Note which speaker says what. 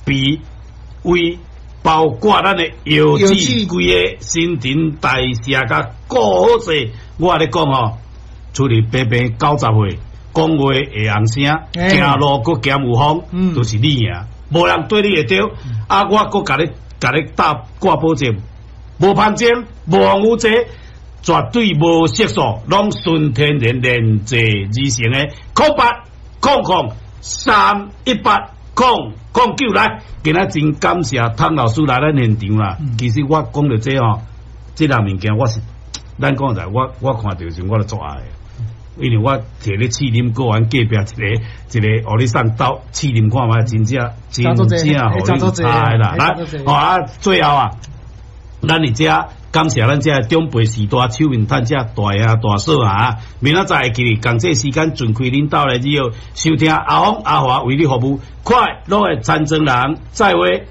Speaker 1: 脾、胃，包括咱的腰子，規个新陳代謝共顧好勢。我共你講吼，出去平平90歲，講話會紅聲，行路閣兼有風，就是你贏，無人對你會著。啊，我閣共你打掛保證，無香精，無防腐劑，絕對無色素，攏純天然煉製而成的。0800 318 009來，今仔真感謝湯老師來咱現場啦。其實我講著這吼，這項物件我是，咱講實在，我看著時我就足愛的，因為我摕咧試啉過，阮隔壁一个一个，予你送兜試啉看覓，真正真正予你猜啦。來，好啊，最後啊，咱佇遮感謝咱遮長輩序大手面趁遮大兄大嫂啊，明仔載會記得仝這時間準開恁兜來以後收聽阿峰阿華為你服務，快樂的田莊人，再會。